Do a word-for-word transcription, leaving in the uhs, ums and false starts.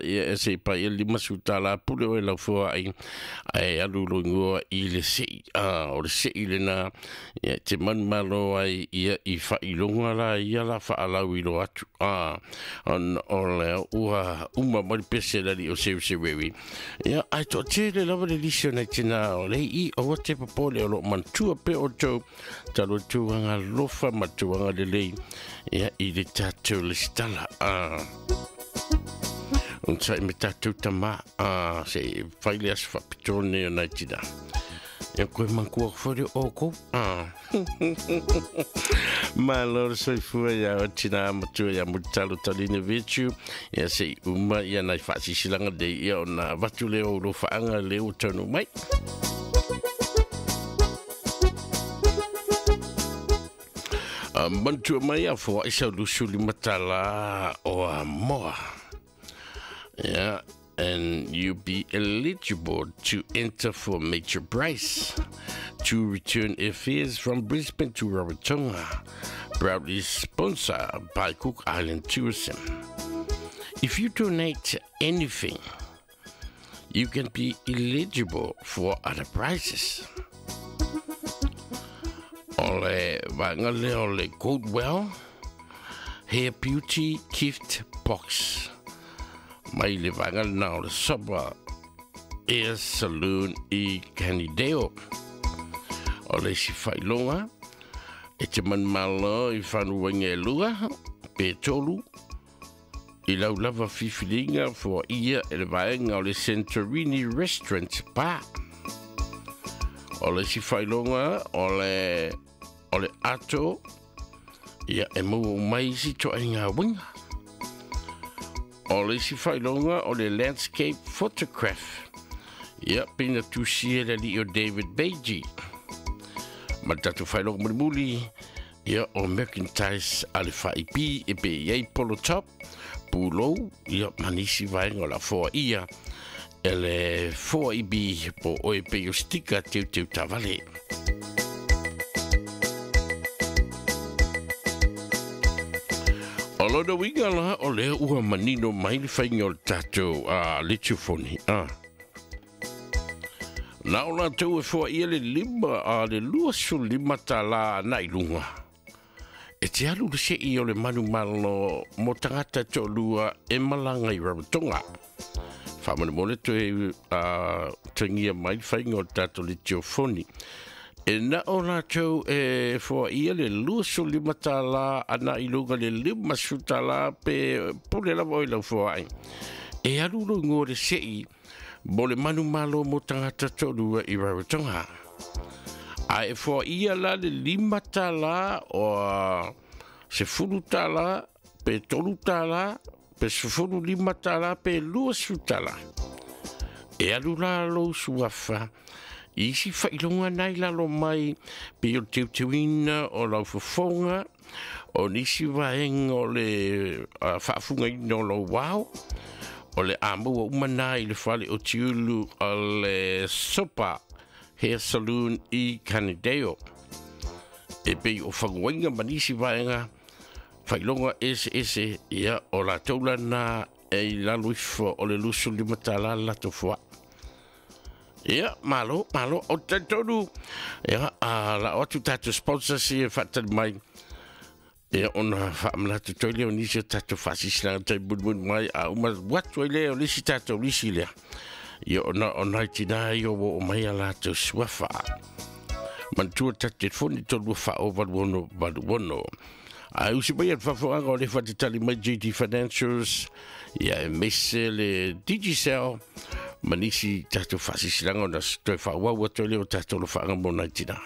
Ia e se pa ia lima su tala pule o e lau fua ai ai alu lo ingoa i le sei a o le sei lena ia te manumalo ai ia i faailoga la ia la faalau i lo atu a ona o le ua uma mai le pese le alii o Seusewewi ia ae toatele lava le lisi o nai tinā o le i aua te popole o loo manatua pea outou talu ai tulaga alofa ma tulaga lelei ia i le tatou lesitala a onosai me tatou tamā a se i fai le aso faapitoa lenei o nai tinā ia koe manatua foi le outou a malo le soifua ia o tinā matua ia Mulitalo Taline Virtue ia se i uma ia nai faasisilaga nei ia ona avatu lea o lofaaga lea ua taunuu mai. Manatua mai a foai sau lusu lima tala o a moa. Yeah, and you be eligible to enter for major prize. Two return airfares from Brisbane to Rarotonga. Proudly sponsored by Cook Island Tourism. If you donate anything, you can be eligible for other prizes. O le vaega lea o le Goldwell Hair Beauty Gift Box mai le vaega lena o le Sopa Air Saloon i Canideo. O le isi faailoga e te manumalo i fanuaina e lua pe tolu i lau lava filifiliga foaia e le vaega o le Santorini Restaurant Pa. O le isi faailoga o le o le ato ia e maua mai isi toaiga uiga. O le isi faailoga o le Landscape Photograph ia pei na tusia e le alii o David Beiji. Ma le tatou faailoga mulimuli ia o merchandise a le F I P e pe i ai polo top, pulou ia ma nisi vaega o la foaia e le F I B po o e pei o stika teuteu tavale. O lona uiga la o lea ua manino mai le faiga o le tatou uh, letiofoni. Ah. Na o latou e foaia le lima a le lua lima tālā na i luga. E te alu le sei o le manumalo mo tagata toalua e malaga i Rarotonga. Faamolemole toe uh, tagia mai le faiga o le tatou letiofoni. E na o latou e foaia le lua lima tālā ana i luga le lima tālā pe pule lava o i lau foai. E alu lo ingoa le sei mo le manumalo mo tagata toalua i Rarotonga. A e foaia la le lima tālā o sefulu tālā pe tolu tālā pe sefulu lima tālā pe lua tālā. E alu la lou suafa i isi faailoga nai lalo mai pe o le teuteuina o lau fofoga o nisi vaega o le uh, faafugaina o lou ao o le a maua uma nā i le fale o Tiulu o le Sopa Hair Saloon i Canideo. E pei o faguaina ma nisi vaega faailoga eseese ia o latou lana e i lalo ifo o le lusu lima tālā latou foaʻi. Ia, malo, malo, o talitonu. Ia, a la o atu tatou sponsors ia faatali mai. Ia, ona faamanatu toi lea o nisi o tatou faasisilaga tai mulimuli mai a uma atu ai lea o le isi tatou lisi lea. Ia, ona o nai tinā ia ua oo mai a latou suafa. Manatua tatou telefoni tolu faa valu ono valu ono. Ae usi mai a le faafogaga o le faatalitali mai J D Financials, ia e mese le Digicel, ma nisi tatou faasisilaga ona toe faaauau atu ai lea o tatou alofaaga mo nai tinā.